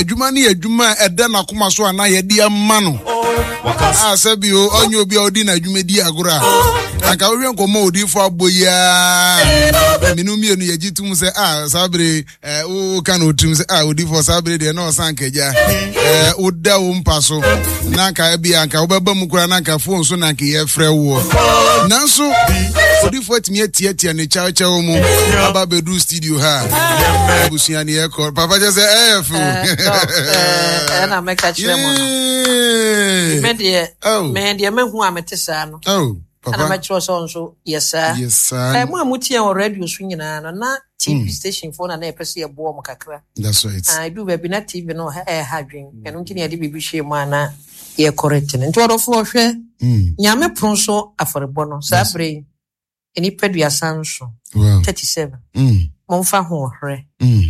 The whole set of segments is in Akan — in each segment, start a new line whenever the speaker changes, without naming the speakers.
Adwuma no yɛ adwuma a ɛda n'akoma so anaa yɛde ama no. A sɛ bio ɔnyɛ obi a ɔdi n'adwuma di agorɔ a anka wohwɛ nkɔmmɔ a odiifo abɔ yi ara menu mmienu yɛgye tom sɛ a saa bere woka no wotirim sɛ a odiifo saa bere deɛ na ɔsan kagya woda wo mpa so na anka bi anka wobɛba mu koraa na anka fon so na anka yɛfrɛ woɔ nanso odiifo atumi atiatia ne kyawkyaw mu aba bɛduru studio ha abusua ne yɛkɔ papa kyɛ sɛ ɛyɛ fo
ɛna mɛka kyerɛ mo no me deɛ me deɛ mahu a mete saa no ɛna mɛkyerɛ sɛ nso yɛ saa mo a motie wɔ radio so nyinaa no na TV station foɔ na na yɛpɛ sɛ yɛboɔ mo kakra.
That's right.
Ah, edu baabi na TV no ɛha adwen. Ɛno nti na yɛde biribi hyɛ mu a na yɛ correct no. Nti ɔdɔfoɔ hwɛ Nyame pono so afɔrebɔ no saa berɛ yi nnipa 37, 37. Momfa ho ɔherɛ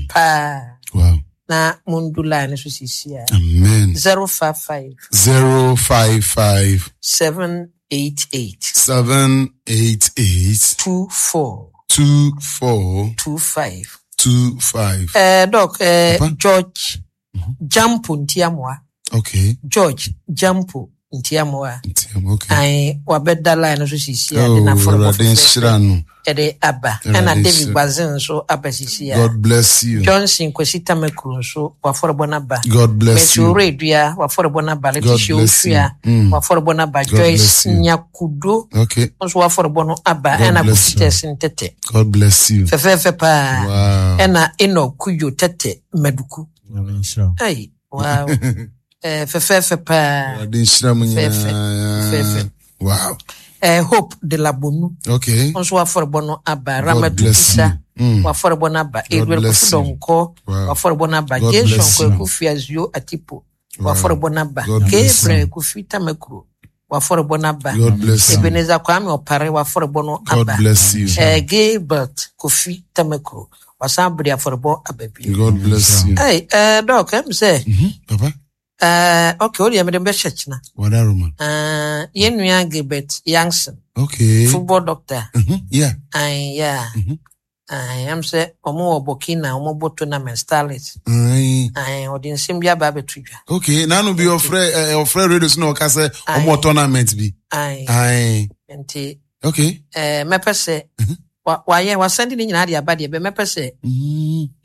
paa.
Wow.
Na mundu line no so sisi a.
Amen.
055.
055.
788.
788.
24.
24.
25.
25.
Doc, George Jampo Ntiamoa.
Okay.
George Jampo Ntiamoa.
Ntiamoa, okay.
Ayi, wabɛda line no so sisi a de n'afɔrebɔ fɛfɛɛfɛ ɛde aba. Ɛna David Gbazin nso aba sisi a.
God bless you.
Johnson Kwesi Tamakuru nso wafɔrebɔ n'aba.
God bless you.
Mercy Oredua wafɔrebɔ n'aba. Letitia Osua wafɔrebɔ n'aba. Joyce Nyakudo
okay.
nso wafɔrebɔ no aba. Ɛna Kofi Tɛsin Tɛtɛ.
God bless you.
Fɛfɛɛfɛ paa.
Wow.
Ɛna Enoch Kujo Tɛtɛ Maduku. Hey, wow. Fɛfɛɛfɛ paa.
Awurade nhyira mu nyinaa.
Fɛfɛ.
Wow.
Hope de la Bonu.
Okay.
Nso wafɔrebɔ no aba. Ramatu Isa. Wafɔrebɔ no aba. Edward Kofi Donkor. Wafɔrebɔ no aba. Jason Kwaku Fiazio Atipo. Wafɔrebɔ no aba. Gabriel Kofi Tamakuro. Wafɔrebɔ no aba. Ebenezer Kwame Opare. Wafɔrebɔ no aba.
God bless you.
Gilbert Kofi Tamakuro. Wasan bere afɔrebɔ aba bio.
God bless you.
Hey, Doc, ɛm sɛ.
Papa.
Okay, o deɛ mede bɛhyɛ kyena.
Wadaroma.
Yɛn nua Gilbert Youngson.
Okay.
Football doctor.
Yeah.
Ayi, yeah. Ayi, ɛm sɛ ɔmo wɔ Burkina, ɔmo bɔ tournament starlet.
Ayi.
Ayi, ɔde nsɛm bi aba abɛto dwa.
Okay, nanu bi ɔfrɛ ɔfrɛ radio so na ɔka sɛ ɔmo wɔ tournament bi.
Ayi.
Ayi.
Nti.
Okay.
Mɛpɛ sɛ wayɛ wasɛnde ne nyinaa de aba deɛ bɛ mɛpɛ sɛ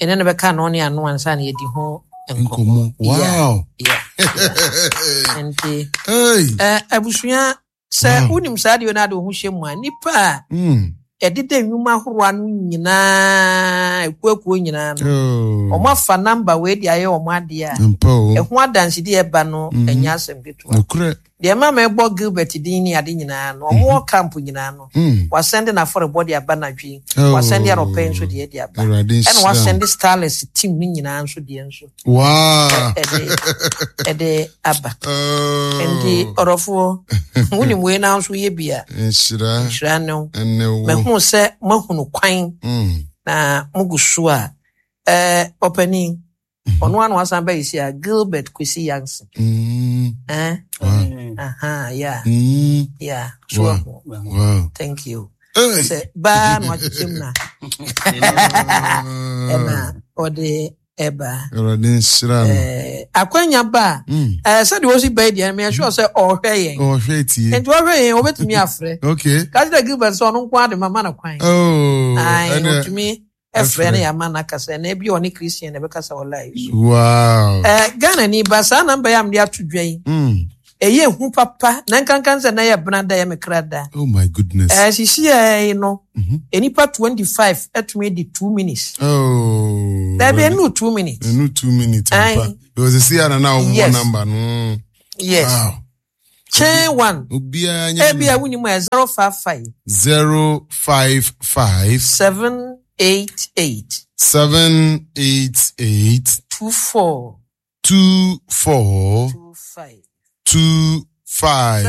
ɛne no bɛka ano ne ano ansa na yɛdi ho
nkɔmmɔ. Wow.
Yeah. Nti abusua sɛ wonim saa deɛ no ade wo ho hyɛ mu a nnipa a ɛdeda nnwuma ahorow ano nyinaa akuakuo nyinaa no wɔn afa namba wei de ayɛ wɔn adeɛ a ɛho adansedi ɛba no ɛnyɛ asɛm ketewa. Deɛ ɛma mebɔ Gilbert din ne ade nyinaa no, ɔmo wɔ camp nyinaa no, wasɛnde n'afɔrebɔ de aba anadwo yi, wasɛnde anɔpa yi nso deɛ de aba, ɛna wasɛnde Starlets team no nyinaa nso deɛ nso ɛde aba. Nti ɔdɔfoɔ, wonim wei na nso yɛ bi a, nhyira ne wo. Mahu sɛ moahunu kwan na mogu so a, ɔpanin, ɔno ano asan bɛyɛ si a Gilbert Kwesi Yanson. Eh? Aha, yeah. Yeah. So, wow. Thank you. Sɛ baa na wakyekyɛ mu na ɛna ɔde ɛba.
Awurade nhyira no.
Akwanya ba a, sɛdeɛ ɔsi bɛyi deɛ, meyɛ sure sɛ ɔhwɛ yɛn.
Ɔhwɛ tie.
Nti ɔhwɛ yɛn, ɔbɛtumi afrɛ.
Okay.
Kasi dɛ Gilbert sɛ ɔno nko ade ma ma no kwan.
Oh.
Ayi, ɔtumi ɛfrɛ no yɛ ama no akasa na ebi ɔne Christian na ɛbɛkasa wɔ live so.
Wow.
Ghana ni ba saa namba yi a mede ato dwa yi. Ɛyɛ ehu papa na nkankan sɛ na yɛ bena da yɛ me kra da.
Oh my goodness.
Sisi yi no nnipa 25 ɛtumi di 2 minutes.
Oh.
Dabi ɛnu 2 minutes.
Ɛnu 2 minutes. Ampa. Because sisi a na na wɔn number no.
Yes. Wow. Chain one.
Obiara nyɛ.
Ebi a wunim ɛ 055.
055.
788.
788.
24.
24.
25.
25.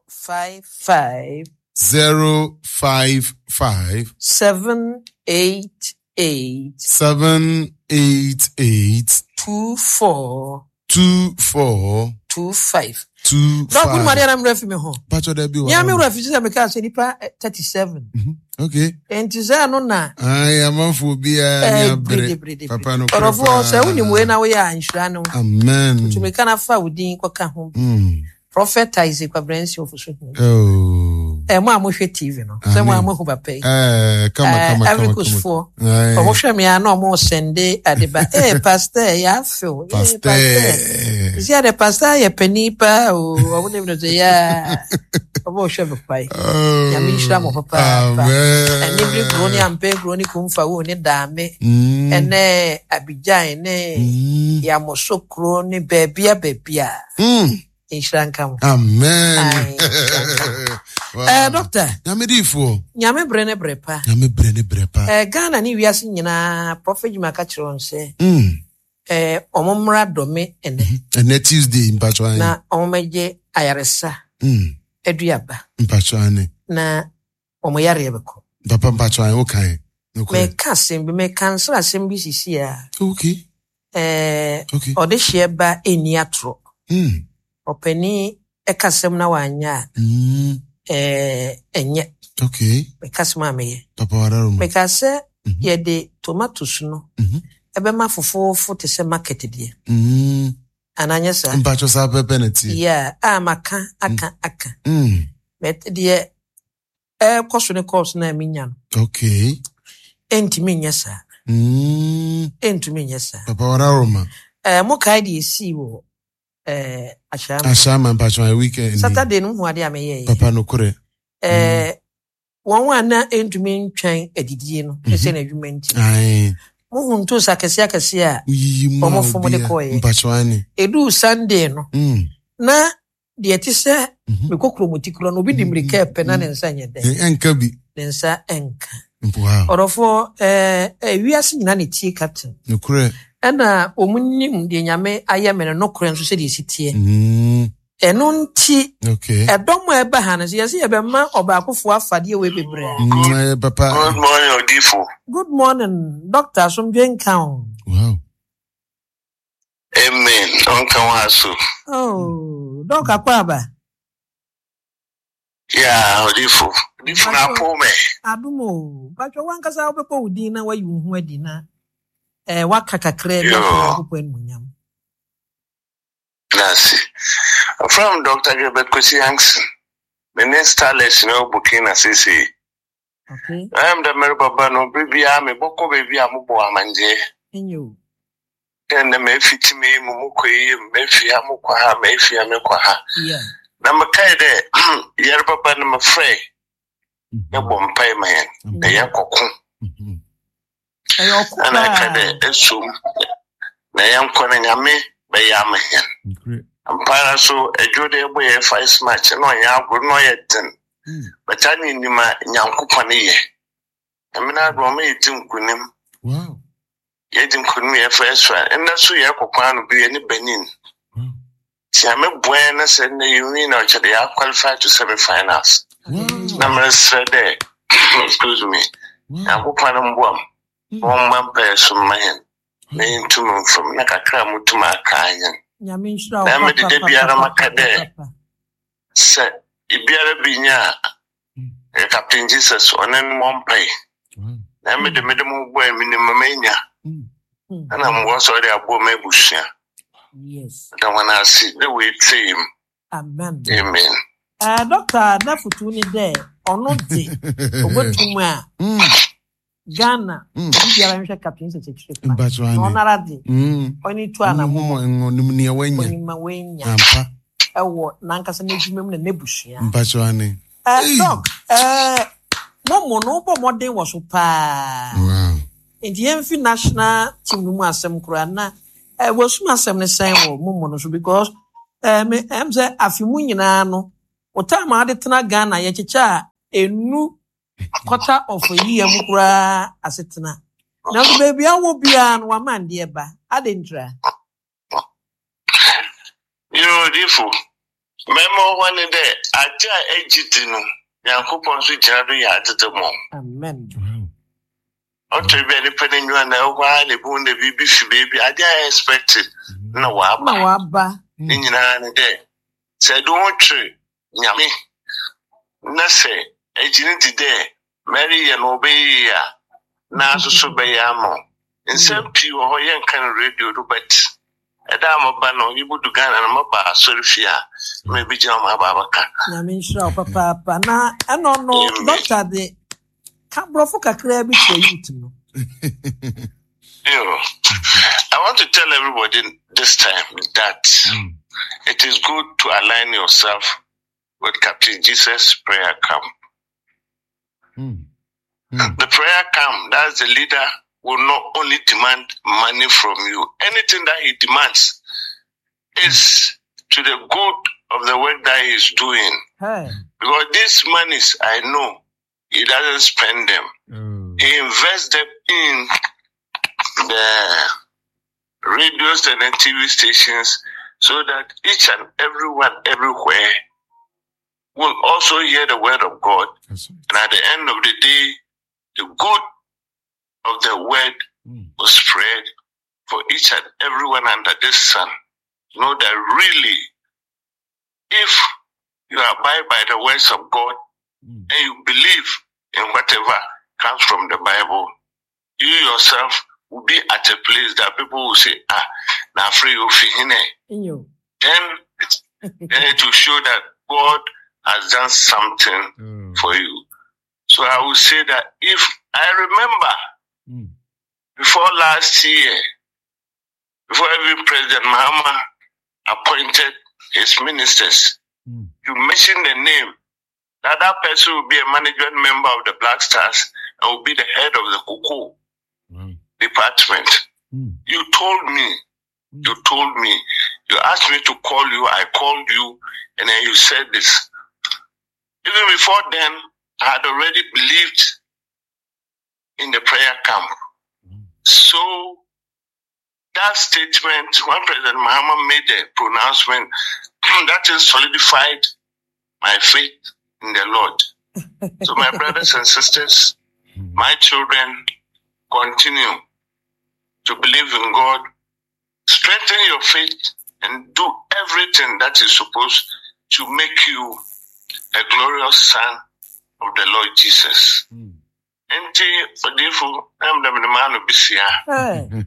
055.
055.
788.
788.
24.
24
25.
2
Dɔk, wonim
5.
adeɛ na mmerɛ fi me ho.
Mpakyɛ dɛ bi wɔ
Nea me
hɔ.
werɛ fi sɛ mekaa sɛ nipa 37.
Okay.
Enti sɛ ɛno na
Ayi amanfoɔ biara ni abere.
brede.
Papa no korɛ
Ɔdɔfoɔ, sɛ wonim wei
paa.
na woyɛ a nhyira no.
Amen.
Tumi ka na fa wo din kɔka ho. Prophet Isaac Kwabena Ofosu.
Oh.
Mo a mohwɛ TV no, sɛ mo a
Amen.
moahu papa yi.
Kama kama
Ivory
kama
Coast
kama.
foɔ.
Aye.
Ɔmo hwɛ me a na ɔmo sɛnde ade ba. Pastor, yɛ afew.
Pastor.
Pastor. Sisi ade pastor yɛ panin paa o. Ɔmo nim no sɛ yaa. Ɔmo hwɛ me kwae.
Oh.
Nyame nhyira mo papaapa.
Amen.
Ɛne bere kuro ne ampɛ kuro ne kumfa wo ne daame. Ɛne Abidjan ne Yamoso kuro ne baabia baabia. Nhyira nka mo.
Amen.
Aye, nhyira nka mo.
Wow.
Doctor.
Nyame diifoɔ.
Nyame bere ne bere pa.
Nyame bere ne bere pa.
Ghana ne wiase nyinaa Prophet Juma ka kyerɛ wɔn sɛ ɔmo mmra dɔme ɛnɛ.
Ɛnɛ Tuesday mpatwa ane.
Na ɔmo mmɛgye ayaresa aduaba.
Mpatwa ane.
Na ɔmo yareɛ bɛkɔ.
Papa mpatwa ane wokan.
Meka asɛm bi, meka nsra asɛm bi sisi a.
Okay. Okay.
Ɔde hyeɛ ba ɛnni atorɔ. Ɔpanin ɛka asɛm na wanyɛ a. Ɛnyɛ.
Okay.
Meka asɛm a meyɛ.
Papa wararoma.
Meka sɛ yɛde tomatoes no ɛbɛma fofoofo te sɛ market deɛ. Ananyɛ saa.
Mpatwa saa pɛpɛ na tie.
Yeah, a maka aka aka. But deɛ ɛkɔ so ne kɔɔso na menya no.
Okay.
Ɛntumi nyɛ saa. Ɛntumi nyɛ saa.
Papa wararoma.
Mo kae deɛ esii wɔ Ahyɛama.
Ahyɛama mpatwa weekend.
Saturday no ho adeɛ a meyɛɛ.
Papa no korɛ.
Wɔn a na ɛntumi ntwɛn adidie no ɛsɛ n'adwuma nti.
Aye.
Mohu ntoos akɛseɛ akɛseɛ a
Woyiyi mu a
wɔn fom de
obiara.
kɔɔeɛ.
Mpatwa ane.
Eduu Sunday no na deɛ ɛte sɛ mekɔ kuromoti korɔ no obi di mmirika ɛpɛ na ne nsa nyɛ dɛ.
Ɛnka bi.
Ne nsa ɛnka.
Wow.
Ɔdɔfoɔ wiase nyinaa na tie captain.
Nokorɛ.
Ɛna wɔn nim deɛ Nyame ayɛ me no nokorɛ nso sɛdeɛ esi teɛ. Ɛno nti
Okay.
ɛdɔm a ɛba ha no sɛ yɛsɛ yɛbɛma ɔbaakofoɔ afadeɛ wei bebree.
Papa.
Good morning, Odifo.
Good morning, Doctor Asomdwe nka o.
Wow.
Amen. Ɔnka ho aso.
Oh, Doc akɔ aba.
Yeah, Odifo. Odifo na apo me.
Adom o. Batwa wankasa wobɛbɔ wo din na wayi wo ho adi na waka kakra bi
Yo.
afa Nyankopɔn animuonyam.
Nasi. From Dr. Gilbert Kwesi Yankson. Me ne Starlets na Burkina sisi.
Okay.
I am the Mary Baba no bibia me bɔkɔ baabi a mobɔ amangye.
Enyo.
Ɛnna mefiti me mu mokɔ yi mefi ha mokɔ ha mefi ha mekɔ ha.
Yeah.
Na mekae dɛ yɛre baba no mefrɛ yɛbɔ mpae ma yɛn na yɛkɔko.
Ɛyɛ ɔko
Ɛna ɛka
paa.
dɛ esom na yɛnkɔ no Nyame bɛyɛ ama yɛn. Mpaara so adwo de ɛbɔ yɛ first match na ɔnyɛ agorɔ na ɔyɛ den. But ane nim a Nyankopɔn yɛ. Nyame no agorɔ ɔma yɛdi nkonim.
Wow.
Yɛdi nkonim yɛ first round. Ɛnna so yɛkɔ kwan no bi yɛ ne Benin. Nti Nyame boa yɛn na sɛ nnɛ yɛ win na ɔkyerɛ dɛ yɛ qualify to semi finals.
Wow.
Na meresrɛ dɛ excuse me.
Wow.
Nyankopɔn mboa m. Wɔmma mpaeɛ so mma yɛn. Na yɛntum mfam na kakra a motum aka yɛn.
Nyame nhyira wo
Na mede da biara maka dɛ
papa.
sɛ ebiara bi nya a Captain Jesus ɔne no mmɔ mpae.
Wow.
Na mede mo bɔ a menim ma manya. Ɛna mmoa sɛ ɔde aboa ma abusua.
Yes.
Da wɔn ase dɛ wɔatie mu.
Amen.
Amen.
Doctor n'afotu ni dɛ ɔno de obotum a Ghana obi biara nhwɛ Captain Jesus akyire kwan.
Mpatwa
Na
ane.
ɔnara de ɔne tu anamɔ.
Ɔnim nea wanya.
Onim ma wanya.
Ampa.
Ɛwɔ n'ankasa n'adwuma mu na n'abusua.
Mpatwa ane. Hey.
Doc, mo no wobɔ mmɔden wɔ so paa.
Wow.
Nti yɛmfi national team no mu asɛm koraa na wɔsum asɛm no sɛn wɔ mo no so because me sɛ afe mu nyinaa no wo time a ade tena Ghana yɛkyekyɛ a enu quarter of a year mu koraa asetena. Nanso baabi a wɔ biara no wama ndeɛ ba. Ade ntra.
Yo, Odifo. Mɛma hɔ ne dɛ agye a agye di no Nyankopɔn nso gyina do yɛ adede mɔ.
Amen.
Wow.
Ɔtɔ bi a nipa n'enyiwa na ɛwɔ hɔ ara na ebi na biribi fi beebi ade a expect na waba.
Na waba.
Ne nyinaa ne dɛ sɛ ɛde ho twere Nyame na sɛ egye no di dɛ mereyɛ no ɔbɛyɛ yie a, na so bɛyɛ ama wo. Nsɛm pii wɔ hɔ yɛnka no radio do but ɛda a mɛba no yebodu Ghana no mɛba asɔrfie a na mebegyina hɔ maba abɛka.
Nyame nhyira wo papaapa. Na ɛno no doctor de ka borɔfo kakraa bi kyerɛ youth no.
You I want to tell everybody this time that it is good to align yourself with Captain Jesus prayer camp. The prayer camp, that's the leader, will not only demand money from you. Anything that he demands is to the good of the work that he is doing.
Hey.
Because these monies, I know, he doesn't spend them. He invests them in the radios and the TV stations so that each and everyone everywhere will also hear the word of God.
That's right.
And at the end of the day, the good of the word will spread for each and everyone under this sun. Know that really, if you abide by the words of God and you believe in whatever comes from the Bible, you yourself will be at a place that people will say, now free you
Inyo.
Then it will show that God has done something for you. So I will say that if I remember before last year, before even President Mahama appointed his ministers, you mentioned the name, that person will be a management member of the Black Stars and will be the head of the Cocoa department. You told me, you asked me to call you, I called you, and then you said this. Even before then, I had already believed in the prayer camp. So that statement, when President Mahama made the pronouncement, that is solidified my faith in the Lord. So my brothers and sisters, my children, continue to believe in God, strengthen your faith, and do everything that is supposed to make you a glorious son of the Lord Jesus. Nti odifo na mdam ne maa no bisia.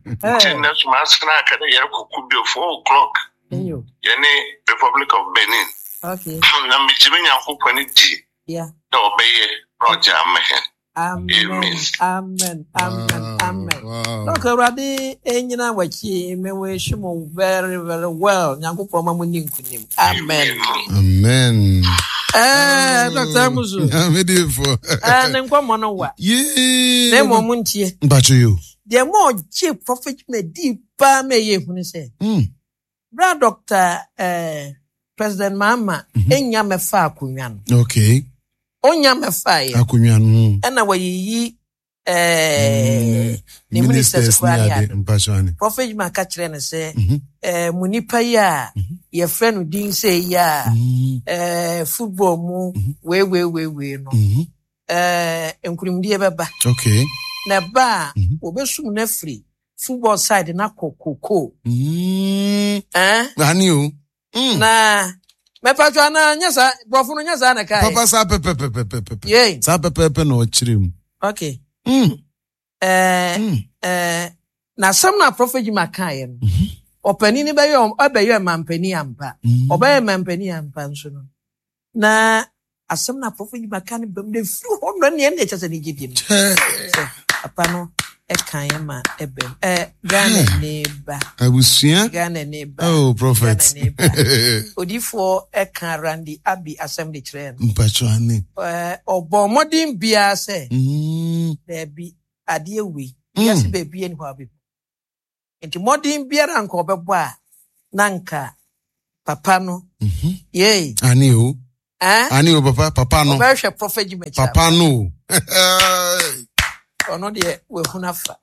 Nti na suma asena aka dɛ yɛrekɔ bio 4 o'clock. Yɛne Republic of Benin.
Okay.
Na megye me Nyankopɔn di.
Yeah.
Na ɔbɛyɛ na ɔgye ama hɛn.
Amen. Amen. Amen. Amen. Look, Awurade enyina w'akyi me wish mo very very well. Nyankopɔn ma mo ni nkunim. Amen.
Amen.
Dr. Amuzu.
Amedifo.
Ne nkɔmmɔ no wa.
Yee.
Na mmom mo ntie.
Mpacho yo.
Deɛ mo ɔgye prophet ma di paa ma ɛyɛ ehunu sɛ. Bra Dr. President Mahama enya mɛfa akonnwa no.
Okay.
Onya mɛfa yɛ.
Akonnwa no.
Ɛna wɔyiyi ne ministers koraa ne ade.
Mpacho ane.
Prophet Juma ka kyerɛ no sɛ mo nipa yi a yɛfrɛ no din sɛ yi a football mu wei wei wei wei no. Nkunimdie bɛba.
Okay.
Na ba a wɔbɛsum no afiri football side na kɔ koko.
Ani o.
Na mɛpatwa na nyɛ saa borɔfo no nyɛ saa na kae.
Papa saa pɛpɛpɛpɛpɛ.
Yei.
Saa pɛpɛpɛ na ɔkyerɛ mu.
Okay. Na asɛm na Prophet Juma kaeɛ no. Ɔpanin no bɛyɛ ɔbɛyɛ mampanin ampa. Ɔbɛyɛ mampanin ampa nso no. Na asɛm na Prophet Juma ka no bɛm na efiri hɔ no ne ɛna ɛkyɛ sɛ ne gye di no. Papa no ɛka yɛ ma ɛbɛm. Ghana ne ba.
Abusua.
Ghana ne ba.
Oh, prophet.
Ghana ne ba. Odifoɔ ɛka Randy Abbey asɛm de kyerɛ no.
Mpacho ane.
Ɔbɔ mmɔden biara sɛ. Daabi adeɛ wei. Wiase baabi ɛni hɔ abɛbi. Nti mmɔden biara nka ɔbɛbɔ a na nka papa no. Yei.
Ane o. Ane o papa papa no.
Ɔbɛhwɛ prophet Juma kyerɛ.
Papa no.
Ɔno deɛ wahunu afa.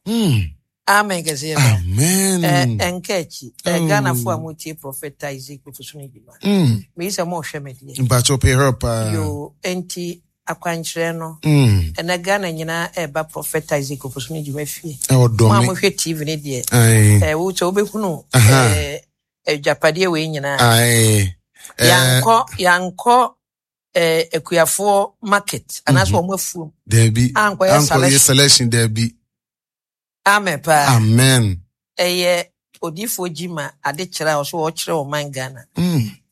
Amen kɛseɛ.
Amen.
Ɛnka akyi. Ghana fo a motie Prophet Isaac Ofosu no dwuma. Meyi sɛ mohwɛ me deɛ.
Mpacho pay her pa.
Yo, enti Akwankyerɛ no, ɛnɛ Ghana nyinaa ɛreba Prophet Isaac Ofosu ne dwuma fie. Mo a mohwɛ TV no deɛ, wo sɛ wobɛhunu agyapadeɛ wei nyinaa. Yɛankɔ yɛankɔ akuafoɔ market anaasɛ wɔn afuom.
Daabi.
Ankɔyɛ
selection daabi.
Amen paa.
Amen.
Ɛyɛ odiifoɔ Gyima ade kyerɛ a ɔso ɔkyerɛ ɔman Ghana.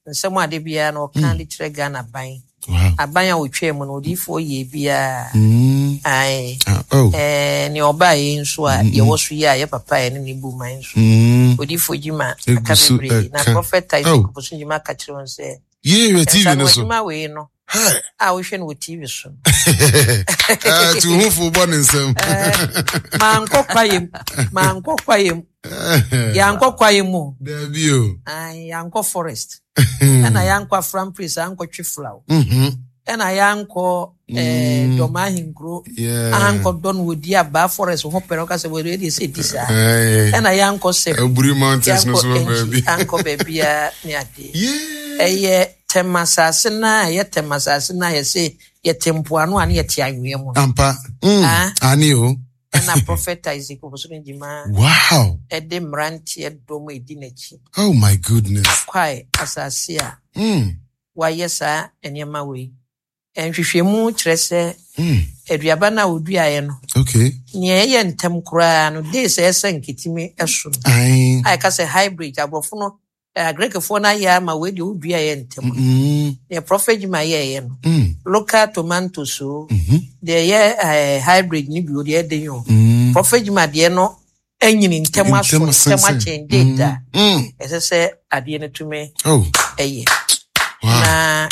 Nsɛm ade biara na ɔka de kyerɛ Ghana aban. Aban a ɔtwaa mu no odiifoɔ yɛ biara. Ae.
Oh.
Ɛɛ nea ɔbaa yi nso a yɛwɔ so yi a yɛ papa a yɛne ne bu man nso. Odiifoɔ Gyima aka bebree na Prophet Isaac Ofosu Gyima aka kyerɛ wɔn sɛ.
Yie wɔ TV no so.
Adwuma wei no. A wohwɛ no wɔ TV so.
Tu ho fo bɔ ne nsam.
Mankɔ kwaeɛ mu. Mankɔ kwaeɛ mu. Yɛankɔ kwaeɛ mu.
Dabi o.
Yɛankɔ forest. Ɛna yɛankɔ Afram Place ankɔtwe flaw. Ɛna yɛankɔ Dɔm ahenkuro ankɔ dɔ no wɔdi abaa forest ho pɛrɛ ɔka sɛ wɔde ɛdeɛ sɛ ɛdi saa. Ɛna yɛankɔ sɛ.
Aburi mountains no so baabi.
Ankɔ baabiara ne adeɛ. Ɛyɛ Tɛm asase no a ɛyɛ Tɛm asase no a yɛse yɛte mpoano a ne yɛte anwea mu
no. Ampa. Mm. Ane o.
Ɛna Prophet Isaac Ofosu Gyimah.
Wow.
Ɛde mmeranteɛ dɔm a ɛdi n'akyi.
Oh my goodness.
Akwae asase a. Wayɛ saa nneɛma wei. Nhwehwɛmu kyerɛ sɛ aduaba no a wɔduaeɛ no,
okay.
nea ɛyɛ ntɛm koraa no, days a ɛsɛ nketimi so no, a ɛka sɛ hybrid, aborɔfo no, Greekfoɔ no ayɛ ama wei deɛ woduaeɛ ntɛm no. Nea Prophet Jima yɛeɛ no, local tomatoes o, deɛ ɛyɛ hybrid no bi o, deɛ ɛden o, Prophet Jima deɛ no anyini ntɛm aso ntɛm akyɛn date a ɛsɛ sɛ adeɛ no tumi ɛyɛ. Na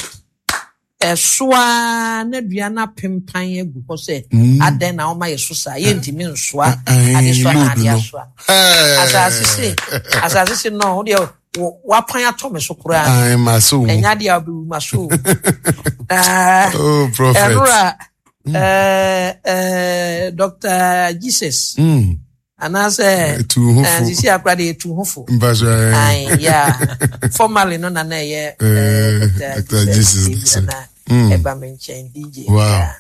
ɛso ara na dua no apempan agu hɔ sɛ adɛn na wɔma yɛ so saa, yɛntumi nsoa adesoa na adeɛ asoa. Asase se asase se no wo deɛ wapan atɔ me so koraa ɛnyɛ adeɛ a wobɛwu ma so. Ɛnora Dr. Jesus anaasɛ sisi akora de etu ho fo. Yeah, formally no na na ɛyɛ Dr. Jesus na ɛba me nkyɛn DJ.
Wow.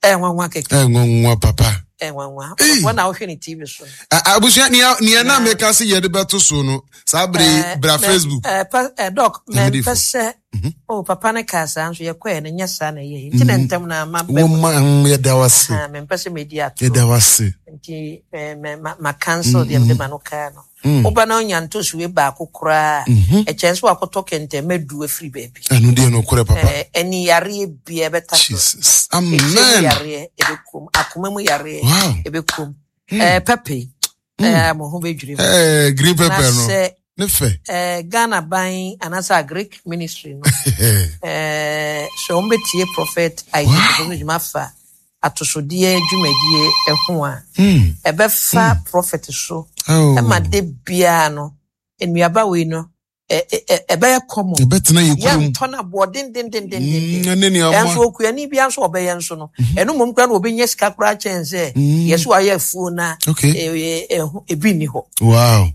Ɛnwanwa kɛkɛ.
Ɛnwanwa papa.
Ɛnwanwa. Wɔn na wohwɛ ne TV so.
Abusua nea na meka se yɛde bɛto so no saa bere bra Facebook.
Dɔk mɛmpɛ sɛ o papa ne kaa saa nso yɛkɔɛ no nyɛ saa na ɛyɛ nti na ntɛm na ma bɛ
mu. Wɔn yɛda wase.
Mempɛ sɛ medi ato.
Yɛda wase.
Nti ma cancel deɛ mede ma no kaa no. Woba na onya ntosue baako koraa ɛkyɛn so wakɔtɔ kɛntɛn mɛdu afiri baabi.
Ɛno deɛ nokorɛ papa.
Ɛni yareɛ bia ɛbɛta so.
Jesus. Amen.
Ɛkyɛ mu yareɛ ɛbɛkum. Akoma mu yareɛ ɛbɛkum. Pɛpɛ mo ho bɛdwiri
mu. Green pepper no. Ne fɛ.
Ghana ban anaasɛ Agric ministry no. Sɛ wɔn bɛtie Prophet Isaac Ofosu Gyimah fa atosodeɛ dwumadie ho a, ɛbɛfa Prophet so ɛma de biara no nnuaba wei no ɛbɛyɛ common.
Ɛbɛtena yɛ kurom.
Yɛntɔ no aboɔ dendendendenden. Ɛnso okuani biara nso ɔbɛyɛ nso no, ɛno mmom koraa na ɔbɛnya sika koraa kyɛn sɛ yɛso ayɛ afuo na ebi nni hɔ.
Wow.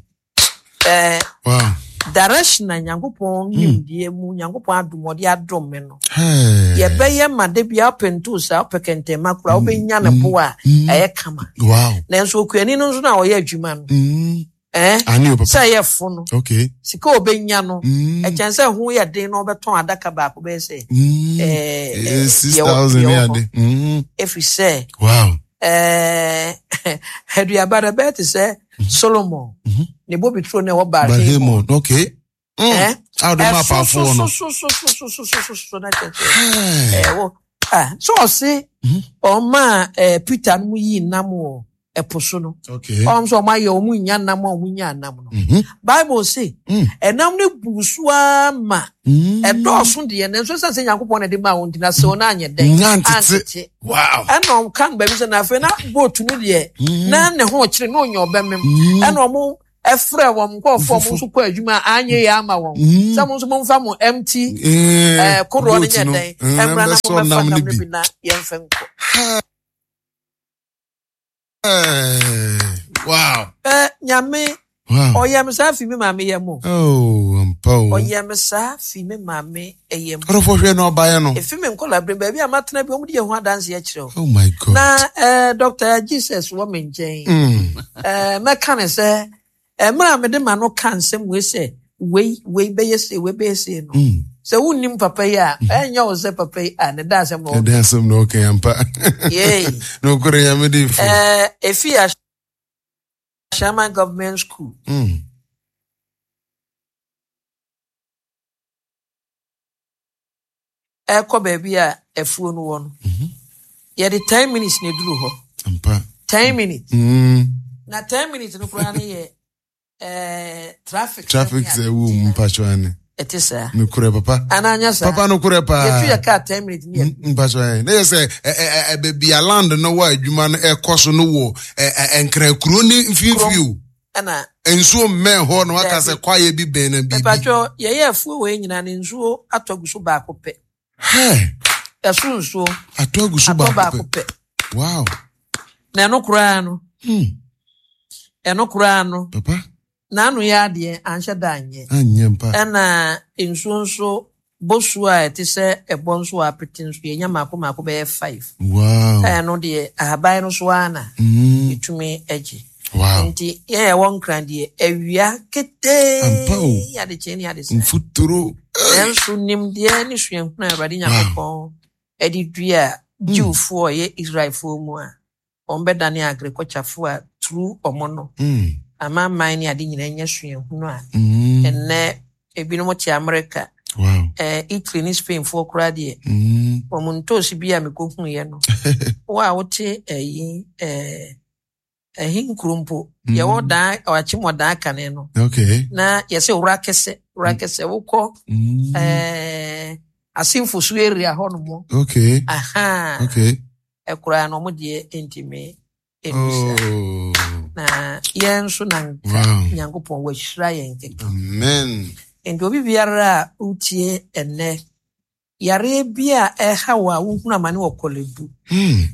Wow.
Direction na Nyankopɔn nimdeɛ mu, Nyankopɔn adom ɔde adom me no. Yɛbɛyɛ ma da biara wopɛ ntoosi a wopɛ kɛntɛnma koraa wobɛnya ne bo a ɛyɛ kama.
Wow.
Nanso okuani no nso na ɔyɛ adwuma no. Sɛ ɛyɛ fo no.
Okay.
Sika a ɔbɛnya no, ɛkyɛn sɛ ho yɛ den na ɔbɛtɔn adaka baako bɛyɛ sɛ
6,000 ne ade.
Ɛfiri sɛ.
Wow.
Aduaba no ɛbɛyɛ te sɛ Solomon ne bobeturo no ɛwɔ
Baal-Hamon. Okay.
Ɛso so so so so so so na kyerɛ sɛ ɛwɔ so ɔse ɔma Peter no mu yii nam wɔ ɛpo so no. Ɔm sɛ ɔmo ayɛ ɔmo nya nam a ɔmo nya nam no. Bible se ɛnam no bu so ara ma ɛdɔɔso deɛ nanso ɛsiane sɛ Nyankopɔn na ɛde maa wɔn nti na sɛ wɔn anyɛ dɛn antete.
Wow.
Ɛna ɔka no baabi sɛ na afei na boat no deɛ na ne ho kyerɛ na ɔnya ɔbɛmem. Ɛna ɔmo ɛfrɛ wɔn nkurɔfoɔ ɔmo nso kɔ adwuma a anyɛ yɛ ama wɔn sɛ mo nso momfa mo empty kodoɔ no nyɛ dɛn ɛmmra na mobɛfa nam no bi na yɛmfa nkɔ.
Wow.
Nyame ɔyɛ me saa fi me maame yɛ mo.
Oh,
Ɔyɛɛ me saa fi me maame yam.
Ɔdɔfoɔ hwɛ na ɔbaeɛ no.
Efi me nkɔlaa baabi a matena bi wɔn de yɛ ho adanseɛ kyerɛ wo.
Oh my God.
Na Dr. Jesus wɔ me nkyɛn. Mɛka ne sɛ mmerɛ a mede ma no ka nsɛm wei sɛ wei wei bɛyɛ sei wei bɛyɛ sei no. Sɛ wonnim papa yi a ɛnyɛ wo sɛ papa yi a ne da asɛm na ɔka.
Ne da asɛm na ɔka yampa.
Yei.
Na okure nyame de fo.
Efi Ashaiman Government School. Ɛkɔ baabi a afuo no wɔ no yɛde 10 minutes na eduru hɔ. 10 minutes. Na 10 minutes no koraa no yɛ traffic.
Traffic sɛ ewu mu mpatwa ane.
Ɛte saa.
Nukurɛ papa.
Ananya saa.
Papa nukurɛ paa.
Yɛtu yɛ kaa 10 minutes ni yɛ.
Mpatwa ane. Ne yɛ sɛ ɛ ɛ ɛ baabi a land no wɔ adwuma no ɛkɔ so no wɔ ɛ ɛ nkran ne mfimfini o.
Ɛna.
Nsuo mmɛn hɔ na waka sɛ kwaeɛ bi bɛn na biribi.
Mpatwa yɛyɛ afuo wɔ yɛn nyinaa ne nsuo atɔ gu so baako pɛ.
Hɛ.
Ɛso nsuo.
Atɔ agu so baako pɛ. Wow.
Na ɛno koraa no. Ɛno koraa no.
Papa.
N'ano yɛ adeɛ anhyɛ da anyɛ.
Anyɛ mpa.
Ɛna nsuo nso bosuo a ɛte sɛ ɛbɔ nso a apete nso yɛnya mako mako bɛyɛ five.
Wow.
Ɛno deɛ ahaban no so ara na ɛtumi agye.
Wow.
Nti yɛn a ɛwɔ Nkran deɛ awia ketee.
Ampa o.
Adekyee ne adesa.
Mfuturo.
Nanso nimdeɛ ne suahunu a Awurade Nyankopɔn de dua Jewfoɔ a ɛyɛ Israelfoɔ mu a wɔn bɛdane agriculturefoɔ a turu wɔn no. Amanaman ne ade nyinaa nya suahunu a ɛnnɛ ebinom te America.
Wow.
Italy ne Spainfoɔ koraa deɛ wɔn ntoosi bi a mekɔhuiɛ no, wo a wote ɛyi ɛhe nkuro mpo yɛwɔ dan ɔakyem wɔ dan kane no. Na yɛsɛ wura kɛsɛ wura kɛsɛ wokɔ Asimfo so area hɔ nom. Aha. Ɛkoraa no ɔmo deɛ ntumi ɛnu saa. Na yɛn nso na nka Nyankopɔn wahyira yɛn kɛkɛ.
Amen.
Nti obi biara a wotie ɛnnɛ, yareɛ bi a ɛha wo a wohunu amane wɔ Korle Bu,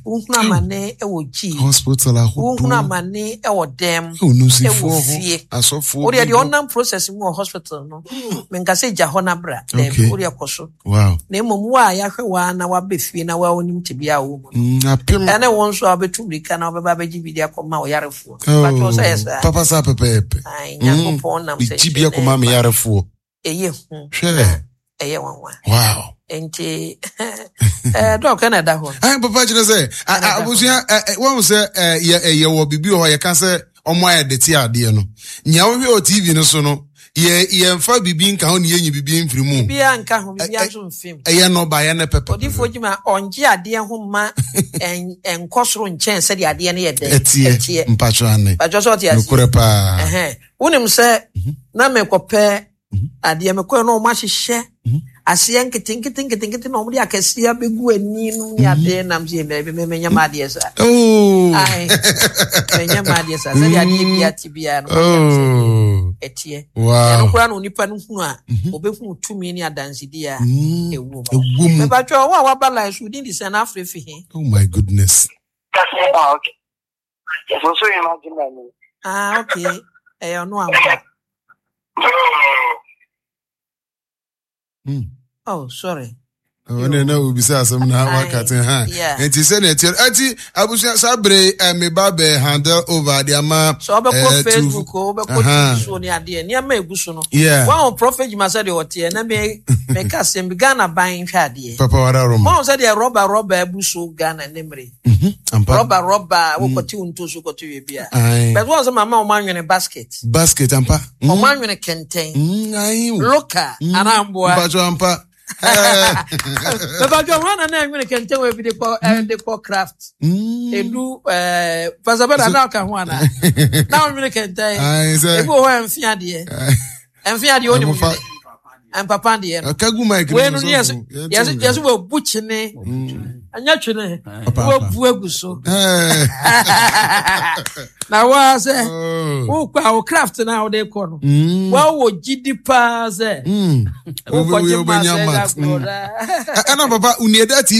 wohunu amane wɔ G,
hospital ahodoɔ,
wohunu amane wɔ dɛm,
ɛwɔ
fie,
asɔfoɔ,
wodeɛ deɛ ɔnam process mu wɔ hospital no, menka sɛ gya hɔ no abra, daabi, wodeɛ kɔ so. Na mmom wo a yɛahwɛ wo ara na woaba fie na woa wonim tebea a wowɔ mu no, ɛne wo nso a wobɛtu mmirika na wobɛba abɛgye bi de akɔma wo yarefoɔ. Pakyɛ wo sɛ yɛ saa?
Papa saa pɛpɛɛpɛ.
Ae, Nyankopɔn nam sɛ
Megye bi akɔma me yarefoɔ.
Ɛyɛ hu.
Hwɛ.
Ɛyɛ nwanwa.
Wow.
Nti dɔk ɛna ɛda hɔ.
Ayi papa kyerɛ sɛ abusua wɔn sɛ yɛ wɔ biribi wɔ hɔ yɛka sɛ ɔmo ayɛ de te adeɛ no nea wohwɛ wɔ TV no so no yɛ yɛnfa biribi nka ho ne yɛnyi biribi mfiri mu.
Biribiara nka ho biribiara nso mfim.
Ɛyɛ nɔba yɛ ne pɛpɛ.
Odiifoɔ Gyima ɔngye adeɛ ho ma ɛnkɔ soro nkyɛn sɛdeɛ adeɛ no yɛ dɛn.
Ɛteɛ mpatwa ane.
Mpatwa sɛ ɔte aseɛ.
Nokorɛ paa.
Wonim sɛ na mekɔpɛ adeɛ mekɔɛ na ɔmo ahyehyɛ aseɛ nketenkete nketenkete na ɔmo de akɛseɛ abɛgu ani no ne adeɛ nam sɛ baabi me menyɛ ma adeɛ saa. Ae menyɛ ma adeɛ saa sɛdeɛ adeɛ bi ate biara no ɔmo yɛ sɛ ɛteɛ. Ɛno koraa na onipa no hunu a ɔbɛhunu tumi ne adansedie a ɛwɔ mu. Mepatwa wo a waba line so wodin de sɛn na afrɛ fi he?
Oh my goodness.
Ah, okay. So so imagine me.
Ah, okay. Ɛyɛ ɔno ampa. Oh, sorry.
ɔne na obisa asɛm na waka te ha nti sɛnea ɛteɛ ɛti abusua saa bere meba bɛ handle over de ama
sɛ wobɛkɔ Facebook o wobɛkɔ TV so ne adeɛ nneɛma ɛgu so no wɔn prophet Juma sɛ deɛ ɔteɛ na me meka asɛm bi Ghana ban hwɛ adeɛ
papa wara roma
wɔn sɛ deɛ rɔba rɔba abu so Ghana ne mmere rɔba rɔba wokɔte wo ntoso kɔte wie bi a bɛtɛ wɔn sɛ mama wɔn anwene basket
basket ampa
wɔn anwene kɛntɛn local anaa mboa
mpatwa ampa
mepatwa wɔn na na anwene kɛntɛn wɔ ebi de kɔ de kɔ craft edu pasabɛda na ɔka ho ana na ɔnwene kɛntɛn ebi wɔ hɔ ɛnfi adeɛ ɛnfi adeɛ onim mpapa deɛ no
kagu mic
wei no yɛsɛ yɛsɛ wɔ bu kyene ɛnyɛ twene wɔ bu agu so na waa sɛ wokɔ a wo craft na wode kɔ no wɔwɔ gyidi paa sɛ wokɔgye ma sɛ
ɛna papa unieda TV.